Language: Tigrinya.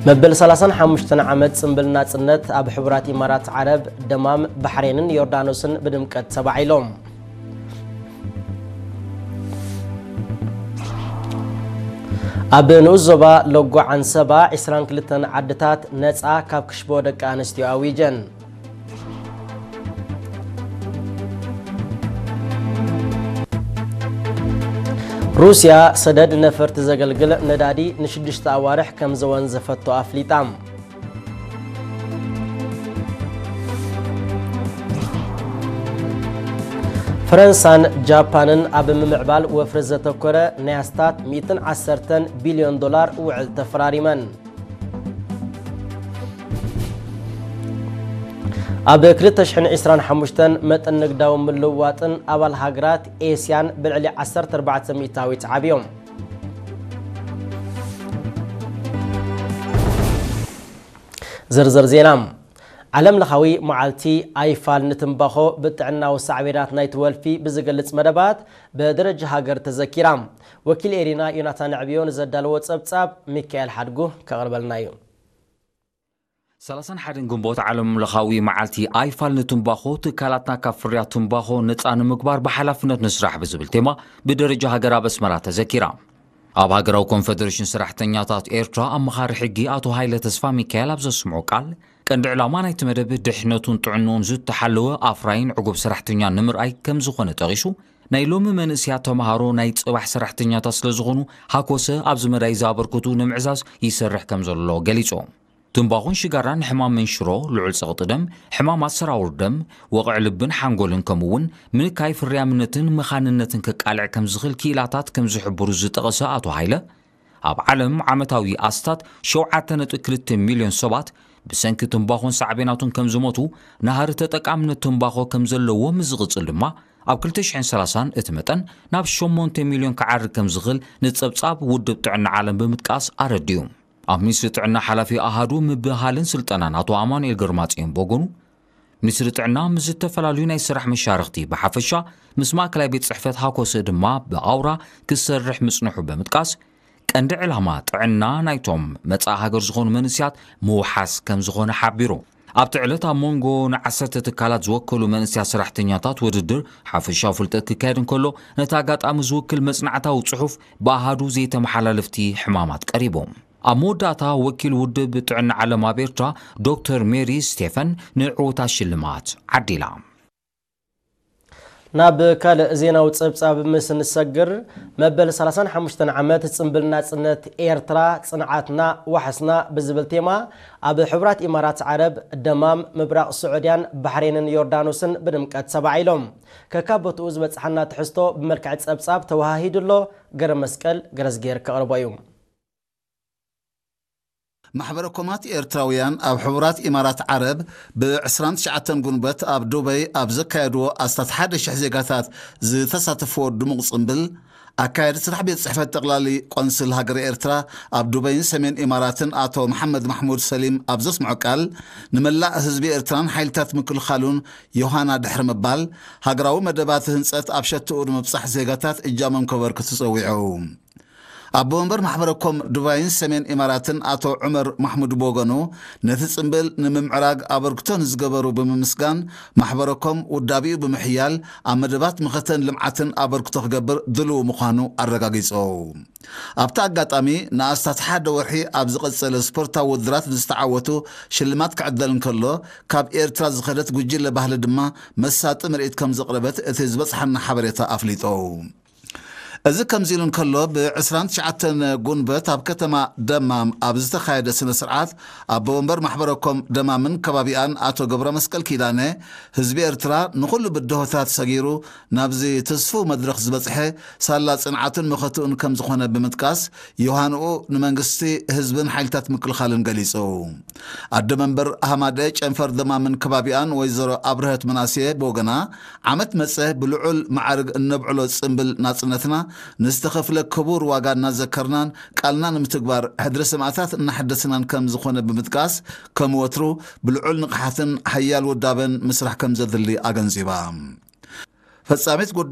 መበል ሰላሳን ሓሙሽተን ዓመት ጽምብል ናጽነት ኣብ ሕቡራት ኢማራት ዓረብ፣ ደማም፣ ባሕሬንን ዮርዳኖስን ብድምቀት ተባዒሎም። ኣብ ንኡስ ዞባ ሎጎ ዓንሰባ፣ ዕስራን ክልተን ዓድታት ነጻ ካብ ክሽቦ ደቂ ኣንስትዮ ኣዊጀን። ሩስያ፣ ሰደድ ነፈርቲ ዘገልግል ነዳዲ ንሽዱሽተ ኣዋርሕ ከም ዘወንዘፈቶ ኣፍሊጣ። ፈረንሳን ጃፓንን ኣብ ምምዕባል ወፍሪ ዘተኮረ ናይ ኣስታት ሚእትን ዓሰርተን ቢልዮን ዶላር ውዕል ተፈራሪመን። ኣብ ክልተ ሽሕን ዕስራን ሓሙሽተን መጠን ንግዳዊ ምልውዋጥን ኣባል ሃገራት ኤስያን ብልዕሊ ዓሰርተ ኣርባዕተ ሚእታዊት ዓብዮም። ዝርዝር ዜና። ዓለም ለኻዊ መዓልቲ ኣይፋል ንትምባኾ ብጥዕናዊ ሳዕቤናት ናይቲ ወልፊ ብዝገልጽ መደባት ብደረጃ ሃገር ተዘኪራ። ወኪል ኤሪና ዮናታን ዕብዮ ንዘዳለዎ ጸብጻብ ሚካኤል ሓድጉ ከቕርበልና እዩ። ሰላሳን ሓደን ግንቦት ዓለም ለኻዊ መዓልቲ ኣይፋል ንትምባኾ ትካላትና ካብ ፍርያት ትምባኾ ነጻ ንምግባር ብሓላፍነት ንስራሕ ብዝብል ቴማ ብደረጃ ሃገር ኣብ ኣስመራ ተዘኪራ። ኣብ ሃገራዊ ኮንፈደሬሽን ሰራሕተኛታት ኤርትራ ኣመኻሪ ሕጊ ኣቶ ሃይለ ተስፋ ሚካኤል ኣብ ዘስምዖ ቃል፣ ቀንዲ ዕላማ ናይቲ መደብ ድሕነቱን ጥዕንኡን ዝተሓለወ ኣፍራይን ዕጉብ ሰራሕተኛ ንምርኣይ ከም ዝኾነ ጠቒሱ፣ ናይ ሎሚ መንእስያት ተምሃሮ ናይ ጽባሕ ሰራሕተኛታት ስለ ዝኾኑ፣ ሃኮሰ ኣብዚ መዳይ ዘበርክቱ ንምዕዛዝ ይሰርሕ ከም ዘሎ ገሊጹ። ትምባኾን ሽጋራን ንሕማም መንሽሮ፣ ልዑል ጸቕጢ ደም፣ ሕማማት ሰራውር ደም፣ ወቕዒ ልብን ሓንጎልን ከምኡ እውን ምንካይ ፍርያምነትን መኻንነትን ከቃልዕ ከም ዝኽእል ክኢላታት ከም ዝሕብሩ ዝጠቐሰ ኣቶ ሃይለ፣ ኣብ ዓለም ዓመታዊ ኣስታት ሸውዓተ ነጥቢ ክልተ ሚልዮን ሰባት ብሰንኪ ትምባኾን ሳዕቤናቱን ከም ዝሞቱ፣ ናህሪ ተጠቃምነት ትምባኾ ከም ዘለዎ ምስ ዝቕጽል ድማ፣ ኣብ ክልተ ሽሕን ሰላሳን እቲ መጠን ናብ ሸሞንተ ሚልዮን ክዓርግ ከም ዝኽእል ንጸብጻብ ውድብ ጥዕና ዓለም ብምጥቃስ ኣረዲኡ። ኣብ ሚኒስትሪ ጥዕና ሓላፊ ኣሃዱ ምብህሃልን ስልጠናን ኣቶ ኣማኑኤል ገርማጽዮን ብወገኑ፣ ሚኒስትሪ ጥዕና ምስ ዝተፈላለዩ ናይ ስራሕ መሻርኽቲ ብሓፈሻ ምስ ማእከላይ ቤት ጽሕፈት ሃኮሰ ድማ ብኣውራ ክሰርሕ ምጽንሑ ብምጥቃስ፣ ቀንዲ ዕላማ ጥዕና ናይቶም መጻኢ ሃገር ዝኾኑ መንእስያት ምውሓስ ከም ዝኾነ ሓቢሩ። ኣብቲ ዕለት ኣብ መንጎ ንዓሰርተ ትካላት ዝወከሉ መንእስያት ሰራሕተኛታት ውድድር ሓፈሻዊ ፍልጠት ክካየድ እንከሎ፣ ነቲ ኣጋጣሚ ዝውክል መጽናዕታዊ ጽሑፍ ብኣሃዱ ዘይተመሓላለፍቲ ሕማማት ቀሪቡ። ኣብ መወዳእታ ወኪል ውድብ ጥዕና ዓለም ኣብ ኤርትራ ዶክተር ሜሪ ስቴፈን ንዕውታት ሽልማት ዓዲላ። ናብ ካልእ ዜናዊ ጸብጻብ ምስ ንሰግር፣ መበል ሰላሳን ሓሙሽተን ዓመት ጽምብል ናጽነት ኤርትራ፣ ጽንዓትና ዋሕስና ብዝብል ቴማ፣ ኣብ ሕቡራት ኢማራት ዓረብ፣ ደማም፣ ምብራቕ ስዑድያን ባሕሬንን ዮርዳኖስን ብድምቀት ተባዒሎም። ከካብ ቦትኡ ዝበጽሓና ትሕዝቶ ብመልክዕ ጸብጻብ ተወሃሂዱ ኣሎ። ገረ መስቀል ገረዝጌር ከቕርቦ እዩ። ማሕበረ ኮማት ኤርትራውያን ኣብ ሕቡራት ኢማራት ዓረብ ብ ዕስራን ትሽዓተን ጉንበት ኣብ ዱበይ ኣብ ዘካየድዎ ኣስታት ሓደ ሽሕ ዜጋታት ዝተሳተፍዎ ድሙቕ ጽምብል፣ ኣካያዲ ስራሕ ቤት ጽሕፈት ጠቕላሊ ቆንስል ሃገረ ኤርትራ ኣብ ዱበይን ሰሜን ኢማራትን ኣቶ መሓመድ ማሕሙድ ሰሊም ኣብ ዘስምዖ ቃል፣ ንመላእ ህዝቢ ኤርትራን ሓይልታት ምክልኻሉን ዮሃና ድሕሪ ምባል፣ ሃገራዊ መደባት ህንጸት ኣብ ሸትኡ ንምብጻሕ ዜጋታት እጃሞም ከበርክቱ ጸዊዑ። ኣቦ ወንበር ማሕበረ ኮም ዱባይን ሰሜን ኢማራትን ኣቶ ዑመር ማሕሙድ ብወገኑ፣ ነቲ ጽምብል ንምምዕራግ ኣበርክቶ ንዝገበሩ ብምምስጋን፣ ማሕበረ ኮም ውዳቢኡ ብምሕያል ኣብ መደባት ምኸተን ልምዓትን ኣበርክቶ ክገብር ድልው ምዃኑ ኣረጋጊጹ። ኣብቲ ኣጋጣሚ፣ ንኣስታት ሓደ ወርሒ ኣብ ዝቐጸለ ስፖርታዊ ውድድራት ንዝተዓወቱ ሽልማት ክዕደል እንከሎ፣ ካብ ኤርትራ ዝኸደት ጉጅለ ባህሊ ድማ መሳጢ ምርኢት ከም ዘቕረበት እቲ ዝበጽሓና ሓበሬታ ኣፍሊጡ። እዚ ከምዚ ኢሉ እንከሎ፣ ብ ዕስራን ትሽዓተን ጉንበት ኣብ ከተማ ደማም ኣብ ዝተኻየደ ስነ ስርዓት፣ ኣቦ ወንበር ማሕበረ ኮም ደማምን ከባቢኣን ኣቶ ገብረ መስቀል ኪዳነ፣ ህዝቢ ኤርትራ ንኹሉ ብድሆታት ሰጊሩ ናብዚ ትስፉው መድረኽ ዝበጽሐ፣ ሳላ ጽንዓቱን መኸትኡን ከም ዝኾነ ብምጥቃስ፣ ዮሃንኡ ንመንግስቲ፣ ህዝብን ሓይልታት ምክልኻልን ገሊጹ። ኣደ መንበር ሃማደ ጨንፈር ደማምን ከባቢኣን ወይዘሮ ኣብርሀት ምናሴ ብወገና፣ ዓመት መጸ ብልዑል ማዕርግ እነብዕሎ ጽምብል ናጽነትና፣ ንዝተኸፍለ ክቡር ዋጋ እናዘከርናን ቃልና ንምትግባር ሕድሪ ሰማእታት እናሐደስናን ከም ዝኾነ ብምጥቃስ፣ ከም ወትሩ ብልዑል ንቕሓትን ሓያል ውዳበን ምስራሕ ከም ዘድሊ ኣገንዚባ። ፈጻሚት ጉዳይ